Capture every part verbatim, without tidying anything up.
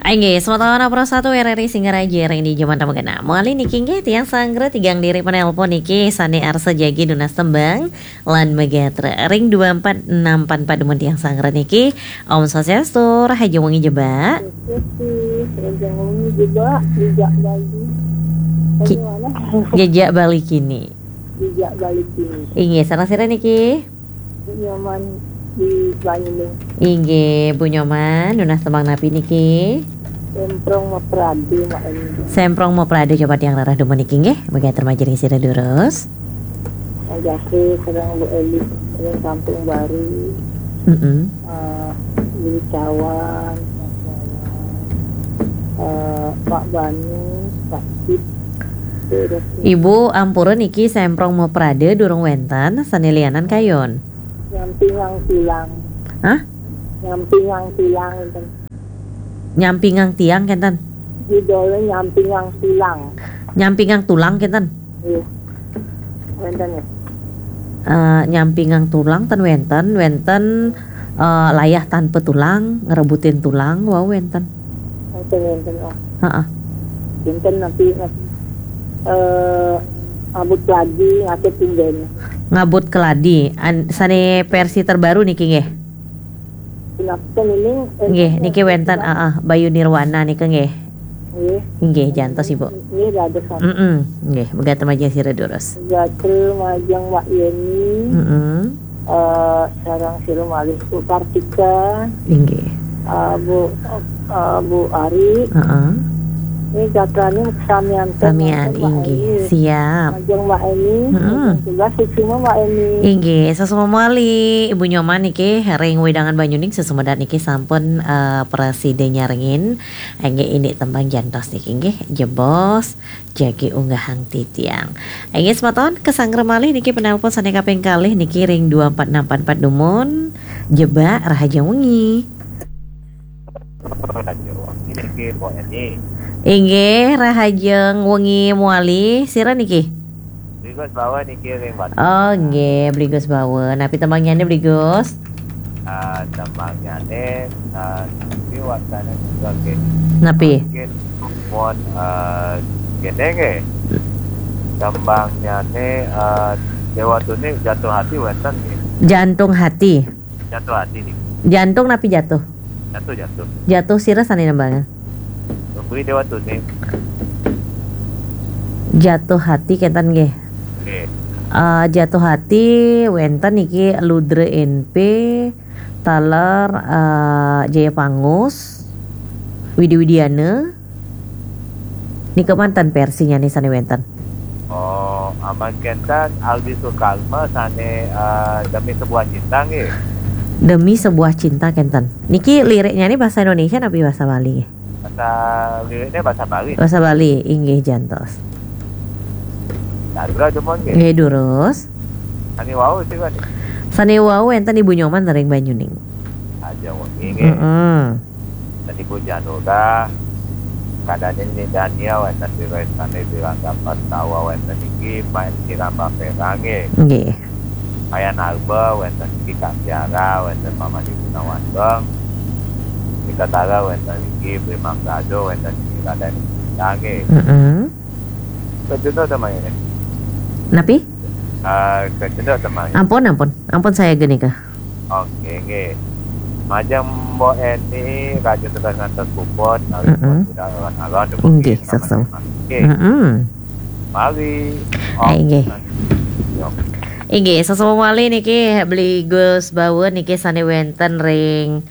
Inggih, semeton Pro satu R R I Singaraja ring dija manten mangkin. Malih niki inggih tiang sanggra tigang diri penelpon niki sane arsa jagi nunas tembang lan magatra ring dua empat enam empat empat dumun tiang sanggra niki. Om Swastiastu, rahajeng wengi Jebak. Swastiastu, rahajeng wengi Jebak, Jejak Bali. Ki- Bagaimana? Jejak Bali kini. Jejak Bali kini. Inggih, sareng sira niki? Bu Nyoman di Banyuning. Inggih, Bu Nyoman, nunas tembang napi niki? Semprong Maprade, Mak Eni. Semprong Maprade, coba tiang rarah dumun niki nggih. Mangkin atur majeng ring sira durus. Ajase sareng Bu Eli ring Kampung Baru. Mm-mm. Eh, Bu Cawan, eh, Pak Banu, Pak Cip. Terus Ibu, ampura niki Semprong Maprade durung wenten, sane lianan kayun. Nyampingang Tulang. Hah? Nyampingang Tulang wenten. Nyampingang tiang kenten? Judulnya Nyampingang Tulang. Nyampingang Tulang kenten? Iya. Wenten ya? Eh, Nyampingang Tulang ten wenten, wenten, eh, Layah Tanpa Tulang, Ngerebutin Tulang, wau wenten. Wenten, wenten, oh. Heeh. Wenten nanti, nanti, eh, Abut Keladi, ngatur tumben. Ngabut Keladi, an-, sane versi terbaru niki nggih. Punapa ini, eh, Nggih, niki wenten, heeh, Bayu Nirwana nika nggih. Nggih. Inggih, jantos, Ibu. Nggih, dados sami. Mm-mm, nggih, mangkin atur majeng sira durus. Gatra majeng Mbak Yeni. Mm-mm. Eh, sareng sira malih Bu Kartika. Inggih. Eh, Bu, eh, Bu Ari. Heeh. Ini gatrane samian ten Samian, Mbak inggih. Yeni. Siap. Majeng Mbak Eni. Mm-mm. Majeng tugas, suksma Mbak Eni. Inggih, suksma malih Ibu Nyoman niki ring wewidangan Banyuning, sesampun niki sampun, eh, prasida nyarengin. Inggih, indik tembang jantos niki nggih, Jebos jagi unggahang titiang. Inggih semeton, kasanggra malih niki penelpon sane kaping kalih niki ring dua empat enam empat empat dumun. Jebak, rahajeng wengi. Rahajeng wengi niki, Bu Eni. Inggih, rahajeng wengi malih. Sira niki? Bli Gus Bawa niki ring Batu. Oh, nggih, Bli Gus Bawa. Napi tembangnyane, Bli Gus? Ah, tembangnyane, ah, napi wastane juga nggih. Napi? Mungkin pun, ah, kene nggih. Tembangnyane, ah, Dewa Tune Jatuh Hati wenten nggih. Jantung Hati. Jatuh Hati niki. Jantung napi jatuh? Jatuh, jatuh. Jatuh sira sane nembang. Beli Dewa Tune. Jatuh Hati kenten nggih. Nggih. Eh, Jatuh Hati wenten niki Ludra N P, taler, eh, Jaya Pangus, Widi Widiana. Nika manten versinyane sane wenten. Oh, aman kenten Aldi Sukarma sane, eh, Demi Sebuah Cinta nggih. Demi Sebuah Cinta kenten. Niki liriknyane bahasa Indonesia napi bahasa Bali nggih? Bahasa liriknya bahasa Bali. Bahasa Bali, inggih jantos. Dadra dumun nggih. Nggih durus. Sane wau sira niki? Sane wau wenten Ibu Nyoman ring Banyuning. Rahajeng wengi nggih. Heeh. Wenten Ibu Janura, kadane Ni Dania, wenten Wirestane Wirangga Pastawa, wenten niki Main Kiramba Perang nggih. Nggih. Wayan Arba, wenten niki Kak Tiara, wenten Mama Ibu Nawandong. Nika Tara, wenten niki Bli Manggado, wenten niki Raden Sita nggih. Heeh. Kacunduk tembang ini. Napi? Ah, kacunduk tembang ini. Ampun, ampun. Ampun sayaga nika. Oke, nggih. Majeng Mbok Eni, kacunduk ngantos puput, nawi Mm-mm. Sudah alon-alon, Inggih, nggih, sama-sama. Nggih. Mm-mm. Mari. Om Inggih. Santi Om. Inggih, sesama malih niki Beli Gus Bawa niki sane wenten ring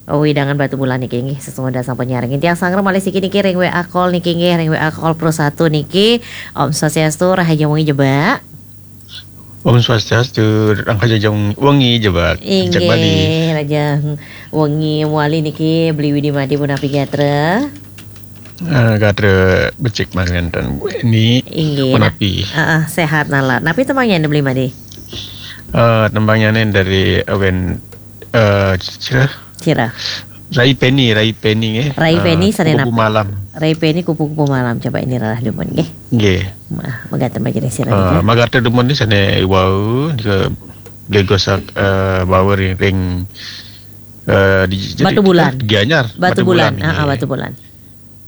wewidangan Batubulan niki nggih, sesungguhnya sampun nyarengin. Tiang sanggra malih siki niki ring W A call niki nggih, ring W A call Pro satu niki. Om Swastiastu, rahajeng wengi Jebak. Om Swastiastu, rahajeng wengi Jebak. Inggih, rahajeng wengi malih niki Beli Widi Madi punapi gatra? Eh, gatra becik mawon ten Bu Eni. Inggih. Punapi? Heeh, sehat nalar. Napi tembangnyane Beli Madi? Eh, tembangnyane dari Awen, eh, sira? Sira. Rai Peni, Rai Peni nggih. Rai Peni, eh, sare Kupu-Kupu napa? Malam. Rai Peni, Kupu-Kupu Malam. Coba ini rarah dumun nggih. Nggih. Mah, magatra majeng sira nggih. Eh, magatra dumun niki sane wau nika Beli Gus, eh, Bawa ring, ring, eh, di, di, Batubulan. Gianyar. Batubulan. Batubulan, ah, ah, nggih. Batubulan.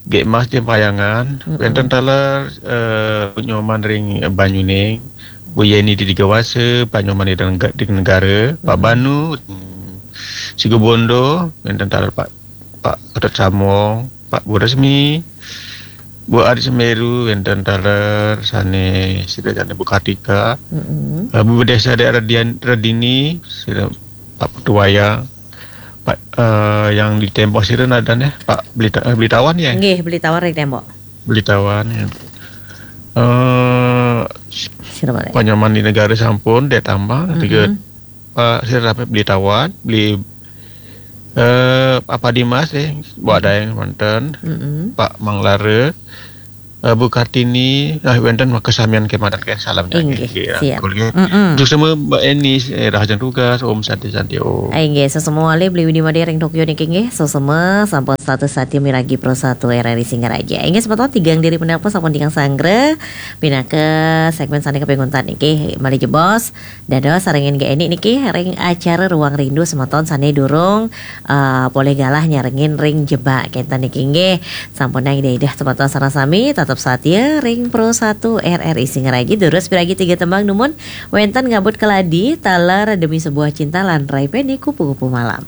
Gek Mas di Payangan, wenten taler, eh, Bu Nyoman ring Banyuning, Bu Yeni di Digawasa, Pak Nyoman di Negara, Pak Banu, hmm, Sigobondo, wenten taler Pak, Pak Ketut Samong, Pak Bu Resmi, Bu Ari Semeru, wenten taler sane sida jane Bu Kartika, eh, Bu Desa Dek Redian-, Redini, sida Pak Putu Wayang, Pak, eh, yang di Tembok sira nadane, Pak Belita-, eh, Belitawan ya? Nggih, Belitawan ring Tembok. Belitawan ya. Eh, Sira balik. Pak Nyoman di Negara sampun, Dek Tambang, tiga, Pak sira Rapi Belitawan, beli, eh, Apa Dimas, eh, Buat Daeng wonten, Pak Manglara, eh, Bu Kartini, nah, wenten makasamian kemadan ke salam. Inggih, nggih, siap. Rangkul, nggih. Untuk semua Mbak Eni, eh, rahajeng tugas, Om Santi Santi Om. Inggih, sesemua malih beli Widi Made ring Tokyo niki nggih, sesama sampun satu sati miragi Pro satu R R I Singaraja. Inggih, semeton tigang diri penelpon sampun tigang sanggra, pinaka segmen sane kaping untat niki, malih jebos, dados sarengin Gek Eni niki, ring acara Ruang Rindu semeton sane durung, eh, polih galah nyarengin ring jebak kenten niki nggih. Sampunang Ida-ida semeton sareng sami, tetep satia ring Pro satu R R I Singaraja, durus piragi tiga tembang dumun, wenten Ngabut Keladi, taler Demi Sebuah Cinta, lan Rai Peni Kupu-Kupu Malam.